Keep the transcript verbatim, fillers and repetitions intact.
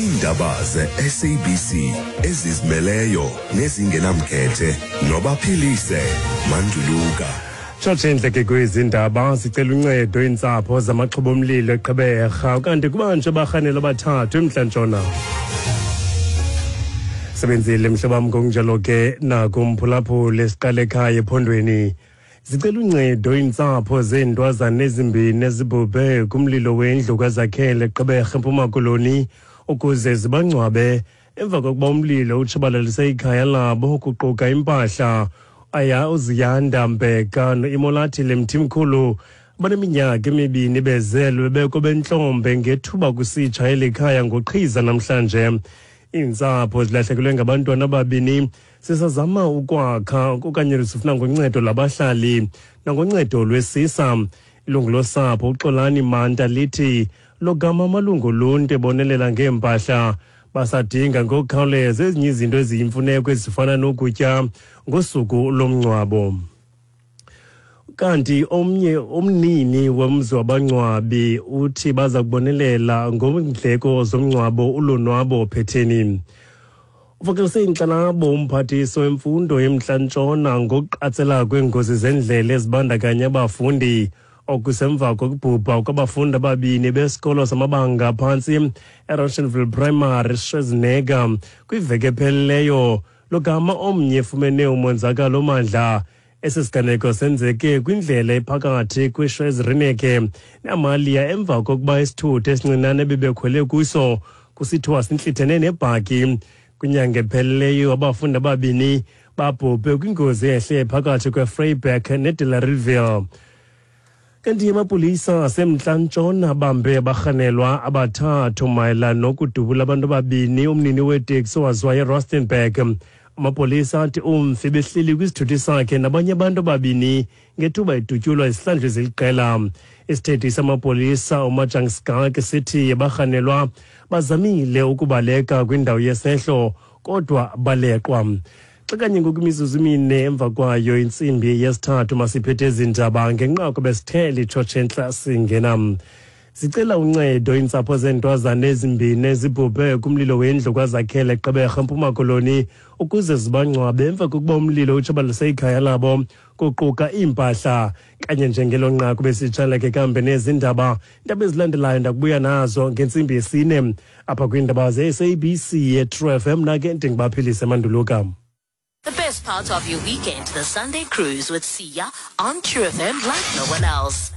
Iindaba ze-S A B C ezizimeleyo nezingenamkhethe noBaphilise Manduluka. Tshotshe indleke kwezi ndaba: zicela uncedo iintsapho zamaxhoba omlilo eGqeberha, kanti kubanjwe abarhanelwa abathathu eMntla-Ntshona. Sebenzile mhlobam, ngokunjalo ke nakumphulaphuli. Siqale ekhaya ephondweni. Zicela uncedo iintsapho zeentwazana ezimbini ezibhubhe kumlilo wendlu kwaZakhele eGqeberha, eMpuma Koloni, ukuze zibangcwabe emva kokuba umlilo utshabalalise ikhaya labo kuquka impahla. Aya uZiyanda Mbeka noImolathile Mthimkhulu baneminyaka emibini bezelwe beko bentlombe ngethuba kusitsha eli khaya ngoqhiza namhlanje. Iintsapho zilahlekelwe ngabantwana ababini, sisazama ukwakha okanye sifuna ngoncedo lwabahlali nangoncedo lwesisa. Ilungu losapho uXolani Manta lithi logama amalungu oluntu ebonelela ngeempahla, basadinga ngokukhawuleza ezinye izinto eziyimfuneko ezifana nokutya ngosuku lomngcwabo. Kanti omnye umnini womzi wabangcwabi uthi baza kubonelela ngondleko zomngcwabo. ULonwabo Phetheni uvakalise inkxalabo umphathiswa wemfundo eMntla-Ntshona ngokuqatsela kweengozi zendlela ezibandakanya abafundi, okusemva kokubhubha kwabafundi ababini besikolo samabanga aphantsi eRoshanville Primary, Schwarzenegger, kwiveki epheleleyo, logama omnye efumene umonzakalo omandla. Esi siganeko senzeke kwindlela ephakathi kwiSchweiz-Reneke neAmalia emva kokuba isithuthi esincinane bebekhwele kuso kusithiwa sintlithene nebhaki. Kwinyanga epheleleyo abafundi ababini babhubhe kwingozi ehle phakathi kweVryburg neDelareyville. Kanti amapolisa aseMntla-Ntshona abambe abarhanelwa abathathu mayelana nokudubula abantu ababini umnini weteksi owaziwayo eRustenburg. Amapolisa athi umfi behleli kwisithuthi sakhe nabanye abantu ababini ngethuba edutyulwa izihlandlo eziliqela. Isithethi samapolisa uMajang Skalk sithi abarhanelwa bazamile ukubaleka kwindawo yesehlo kodwa baleqwa. Xa kanye ngoku imizuzu imine emva kwayo intsimbi yesithathu, masiphethe ezi ndaba ngenqaku besithe litshotshe entla singena. Zicela uncedo iintsapho zeentwazana ezimbini ezibhubhe kumlilo wendlu kwaZakhele eGqeberha, eMpuma Koloni, ukuze zibangcwabe emva kokuba umlilo utshabalalise ikhaya labo kuquka iimpahla. Kanye njengelo nqaku besitshaleke kambe nezi ndaba. Iindaba ezilandelayo ndakubuya nazo ngentsimbi yesine apha kwiindaba ze-S A B C ye-True F M. Nake ndinguBaphilise Manduluka. The best part of your weekend, the Sunday Cruise with Sia on True F M like no one else.